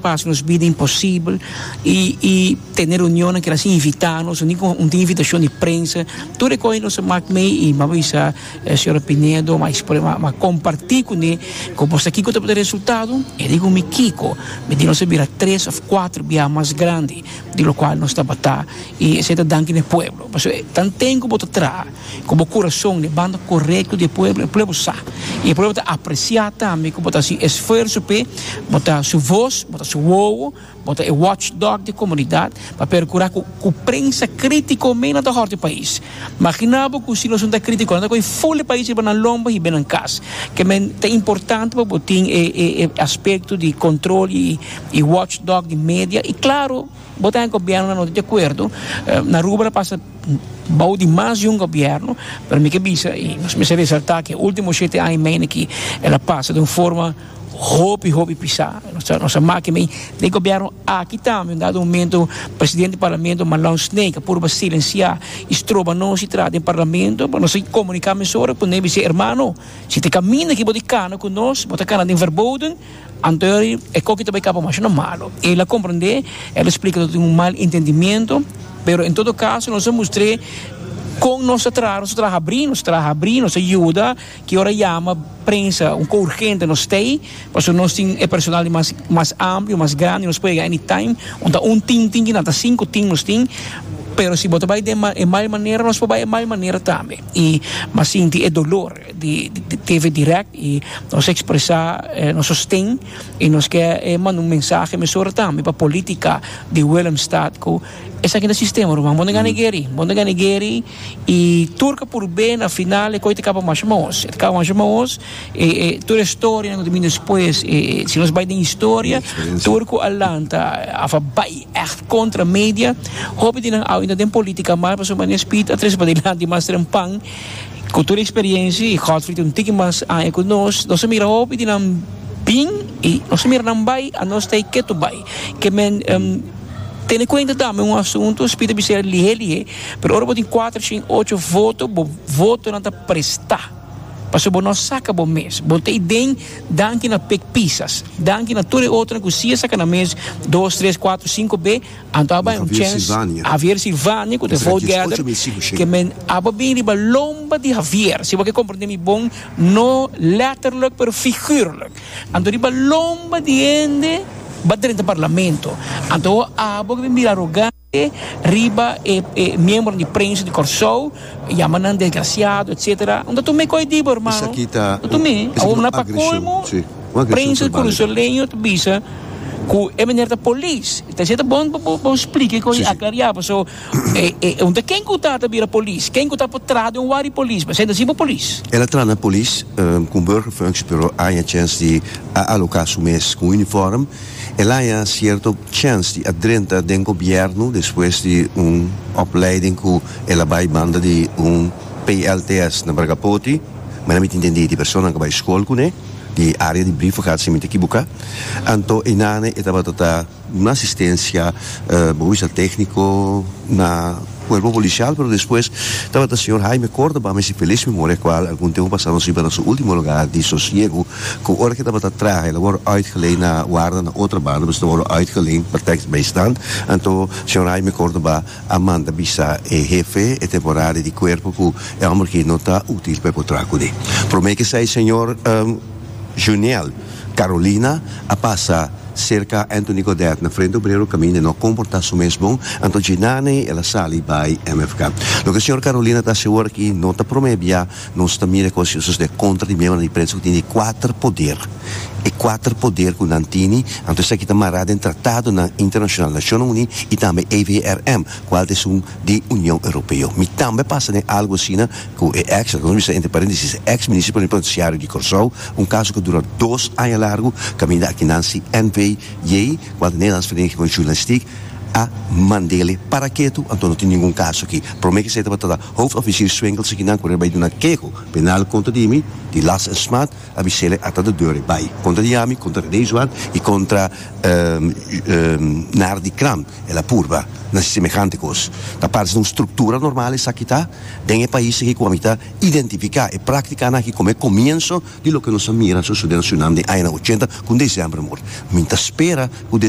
Pasa nos bida imposibel y y tene reunionnan keda sin invita nos, ni con un tin invitacion di prensa, tur e cos nos a mak mey y mi a bisa señora Pinedo, mi a expone, mi a comparti cune cu bo sa kico tabata e resultado, e di cu mi kico, mi di nos a bira tres of cuatro bia mas grandi di locual nos tabata y esey ta danki na e pueblo, pasobra tanten cu bo ta traha. Ku bo kurason den banda korekto di e pueblo, e pueblo sa. I e pueblo ta apresiá tambe ku bo ta hasi esfuerso p'e, bo ta su vos, bo ta su wowo, bo ta e watchdog di e komunidat pa perkurá ku ku prensa krítiko mei nan ta hòrta e pais. Maginá bo ku si nos no ta krítiko, nan ta kohe ful e pais riba nan lomba i hib'é nan kas. Ke men ta importante pa bo tin e e e aspekto di kontrol i i watchdog di media i klaro bo ta den gobièrnu nan no ta di akuerdo. Na Aruba ta pasa. Bou di mas di un gobierno, pero mi ke bisa y nos mester resalta ke ultimo shete aña y medio aki el a pasa den un forma hopi hopi pisa. Nos a nos a maki mei den gobierno aki tambe un dado momento presidente di parlamento Marlon Snake a purba silencia y stroba nos di traha den parlamento, pero nos a comunica mesora cu ne bisa hermano si ta e caminda ki bo di cana cu nos bo ta cana den verboden. Anto e koki ta bai kaba masha na malo. El a komprendé, el a splika ku tin un mal entendimiento, pero en todo kaso nos a mustr'é kon nos ta traha, nos ta traha habrí, nos ta traha habrí, nos ta yuda, ki ora yama prensa un ko urgente nos t'ei, pasobra nos tin e personal di mas mas amplio, mas grandi, nos por yega anytime, un ta un team tin kinan, ta sinku team nos tin, pero si bo ta bai den e mal manera nos por bai e mal manera tambe. I m'a sinti e dolor. di TV Direct y nos a expresa nos sosten y nos ke manda un mensahe mesora tambe pa politica di Willemstad cu esaki ta sistema ruman bo no gana gueri bo no gana gueri y tur ke por be na final e coy ta caba masha mahos e ta caba masha mahos e tur e storianan cu ta bini despues si nos bay den historia tur cu a lanta of a bay echt contra media hopi di nan awe den politica mas pasobra manera Speed a trece padilanti mas trempan. Ku tur eksperiencia i Godfrey tin un tiki mas aña ku nos, nos a mira hopi di nan bin i nos a mira nan bai, anos ta ei ketu bai. Ke men tene kuenta tambe un asuntu, Speed a bisa lihe lihe, pero ora bo tin kuater shin ocho voto, bo votonan ta prestá. Pasobra bo no a saka bo mes. Bo ta ei den danki na Pik Pisas, danki na tur e otronan ku si a saka nan mes dos, tres, kuater, sinku be. Anto a bai un Javier chens Silvania. Javier Silvania ku ta Esaki vote es gather ocho mil sinku shen. ke men aba bin riba lomba di Javier. Si bo ke komprende mi bon, no letterlijk pero figuurlijk. Anto riba lomba di hende ba drenta parlamento. Anto abo ke bin bira arogante riba e e miembronan di prensa di Kòrsou, yama nan desgrasiado etcetera. Unda tu me koe di bo hermano? Esaki ta Unda tu un me? esaki Awor ta na un pa agreshon, kolmo si, un agreshon prensa verbal. kurasoleño ta bisa Ku e meneer ta polis. Ta esei ta bon pa bo splika e kos i aklariá paso e e un ta ken ku ta ta bira polis, ken ku ta por traha den un wari polis, pasobra ta si bo polis. El a traha na polis ku un burgerfunctie pero a haña chèns di a aloká su mes ku un uniform. El a haña sierto chèns di a drenta den gobièrnu despues di un opleiding ku el a bai banda di un PLTS na Bragapoti. Manera mi ta intendí di personanan ku a bai skol kuné. Di área di brievengaat si mi ta ekiboká. Anto einane e tabata ta un asistensia bo bisa tékniko na kuerpo polisial, pero despues tabata señor Jaime Cordoba, mi si felis memoria kual algun tempu pasá nos riba na su último lugar di sosiegu ku ora ke tabata traha el a wòrdu uitgeleend na warda na otra banda, pues el a wòrdu uitgeleend pa tekstbijstand. Anto señor Jaime Cordoba a manda bisa e hefe e temporada di cuerpo cu e homber aki no ta util pa e por traha cune. Prome cu esai señor Juniel Carolina a pasa cerca Anthony Godett na Frente Obrero caminda e no a comporta su mes bon, anto djenane el a sali bay MFK. Loke señor Carolina ta haci awor aki no ta prome bia Nos ta mira ku a sosodé kontra di miembronan di prensa ku tin e kuater poder. E kuater poder ku nan tini, anto esaki ta mará den tratadonan internashonal, Nashonnan Uní i tambe EVRM, kual ta esun di Union Europeo. Mi tambe a pasa den algu asina ku e eks, laga nos bisa entre paréntesis, e eks minister plenipotensiario di Kòrsou, un kaso ku a dura dos aña largu, kaminda aki nan si NVJ, kual ta Nederlandse Vereniging van Journalistiek. A mandele para ketu, anto no tin ningun kaso aki. Prome ke esei tabata ta hoofdofficier Swinkels akinan ku bai duna keho penal kontra di mi, di last en smaad, a bisele ata de deur e bai kontra di ami, kontra René Zwart i kontra Nardi Kram. El a purba na semehante kos. Ta parse un struktura normal esaki ta den e pais aki ku ami ta identifiká e práktikanan aki komo e komienso di loke nos a mira sosodé na Surinam den añanan ochenta ku un desember mort. Mi ta spera ku.